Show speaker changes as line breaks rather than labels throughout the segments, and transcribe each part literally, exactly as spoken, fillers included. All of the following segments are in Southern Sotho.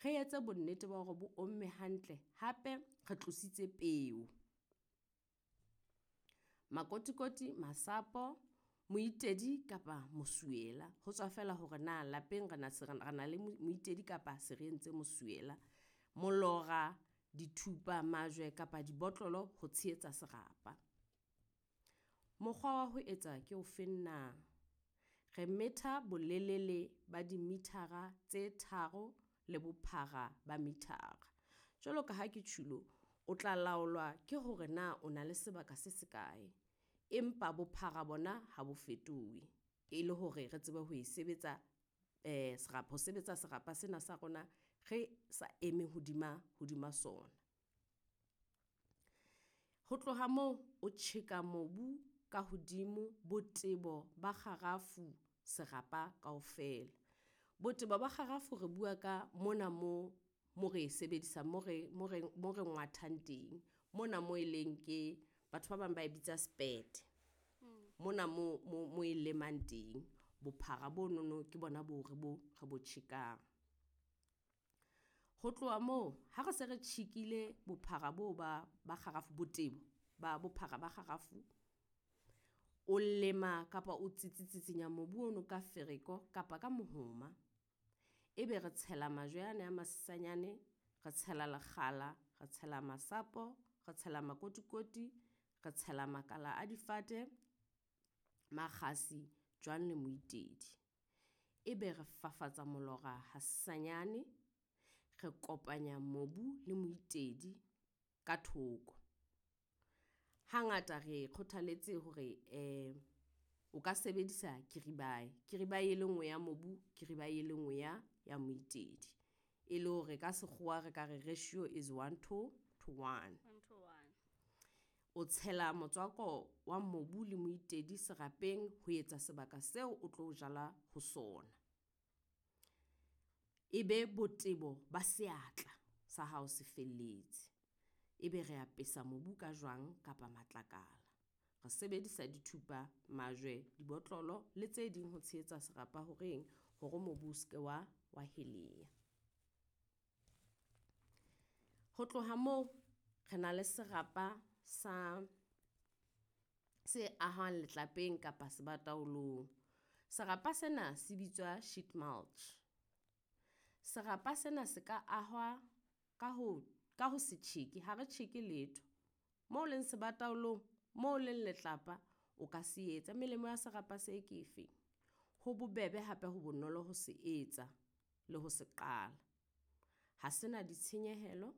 Re etse bonnete ba hore bo omme hantle, hape re tlositse peo. Makotikoti, masapo, moitedi kapa mosuwela. Ho tswa feela hore na lapeng re na re na le moitedi kapa se re entse mosuwela. Molora, dithupa, majwe kapa dibotlolo ho tshehetsa serapa. Mokgwa wa ho etsa ke ofeng na? Re metha bolelele ba di-meter-a tse tharo le bophara ba meter-a. Jwalo ka ha ke tjhulo, o tla laolwa ke hore na o na le sebaka se se kae. Empa bophara bona ha bo fetohe. E le hore re tsebe ho e sebetsa serapa ho sebetsa serapa sena sa rona re sa eme hodima hodima sona. Ho tloha moo, o tjheka mobu ka hodimo botebo ba kgarafu serapa kaofela. Botebo ba kgarafu re bua ka mona mo mo re e sebedisang mo re mo re mo re ngwathang teng. Mona mo e leng ke batho ba bang ba e bitsa sepete. Mona mo mo mo e lemang teng. Bophara bonono ke bona bo re bo re bo tjhekang. Ho tloha moo, ha re se re tjhekile bophara bo ba ba kgarafu botebo ba bophara ba kgarafu. O lema kapa o tsitsitsinya mobu ono ka fereko kapa ka mohoma. Ebe re tshela majwe ane a masesanyane, re tshela lekgala, re tshela masapo, re tshela makotikoti, re tshela makala a difate, makgasi, jwang le moitedi. Ebe re fafatsa molora hasesanyane, re kopanya mobu le moitedi ka thoko. Hangata re kgothaletse hore eh o ka sebedisa kiribae. Kiribae e le nngwe ya mobu, kiribae e le nngwe ya ya moitedi. E le hore ka sekgowa re ka re ratio is one to to one.
One to one.
O tshela motswako wa mobu le moitedi serapeng ho etsa sebaka seo o tlo jala ho sona. Ebe botebo ba seatla sa hao se felletse. Ebe re apesa mobu ka jwang kapa matlakala. Re sebedisa dithupa, majwe, dibotlolo le tse ding ho tshehetsa serapa horeng hore mobu o seke wa wa heleya. Ho tloha moo, re na le serapa sa se ahwang letlapeng kapa sebataolong. Serapa sena se bitswa sheet mulch. Serapa sena se ka ahwa ka ho ka ho se tjheke, ha re tjheke letho. Moo leng sebataolong, moo leng letlapa, o ka se etsa. Melemo ya serapa se ke efeng? Ho bobebe hape ho bonolo ho se etsa le ho se qala. Ha sena ditshenyehelo,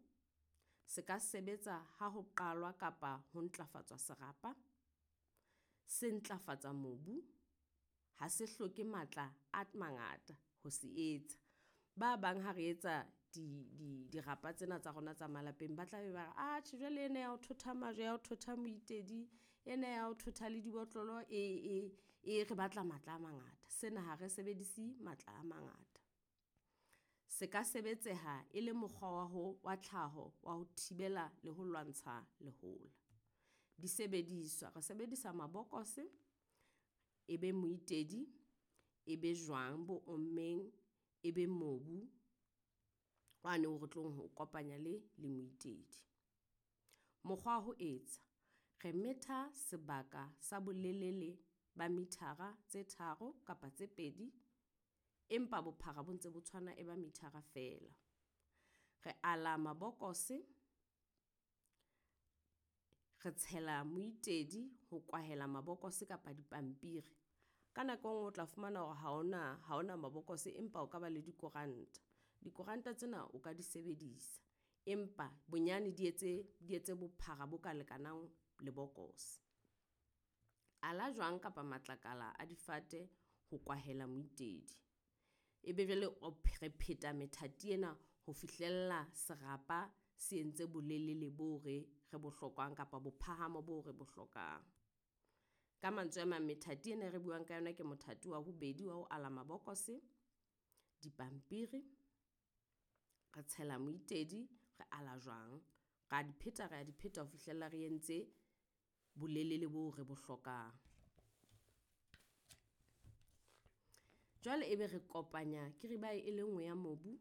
se ka sebetsa ha ho qalwa kapa ho ntlafatswa serapa. Se ntlafatsa mobu, ha se hloke matla a mangata ho se etsa. Ba bang ha re etsa di, di, dirapa tsena tsa rona tsa malapeng, ba tla be ba re, atjhe jwale ena ya ho thotha majwe ya ho thotha moitedi, ena ya ho thotha le dibotlolo e, e, e re batla matla a mangata. Sena ha re sebedise matla a mangata. Se ka sebetseha e le mokgwa wa ho wa tlhaho wa ho thibela le ho lwantsha lehola. Disebediswa, re sebedisa mabokose, e be moitedi, e be jwang bo ommeng, e be mobu wane o re tlong ho kopanya le le moitedi. Mokgwa wa ho etsa, re metha sebaka sa bolelele ba mithara tse tharo kapa tse pedi. Empa bophara bo ntse bo tshwana e ba mithara fela. Re ala mabokose, re tshela moitedi ho kwahela mabokose kapa dipampiri. Ka nako e nngwe o tla fumana hore ha hona ha hona mabokose empa o ka ba le dikoranta. Dikoranta tsena o ka di sebedisa. Empa bonyane di etse di etse bophara bo ka lekanang lebokose. Ala jwang kapa matlakala a difate ho kwahela moitedi. Ebe jwale re pheta methati ena ho fihlella serapa se entse bolelele bo re re bo hlokang kapa bophahamo bo re bo hlokang. Ka mantswe a mang, methati ena e re buang ka yona ke mothati wa bobedi wa ho ala mabokose, dipampiri, re tshela moitedi, re ala jwang. Ra di pheta, ra di pheta ho fihlella re entse bolelele bo re bo hlokang. Jwale ebe re kopanya kiribae e le nngwe ya mobu.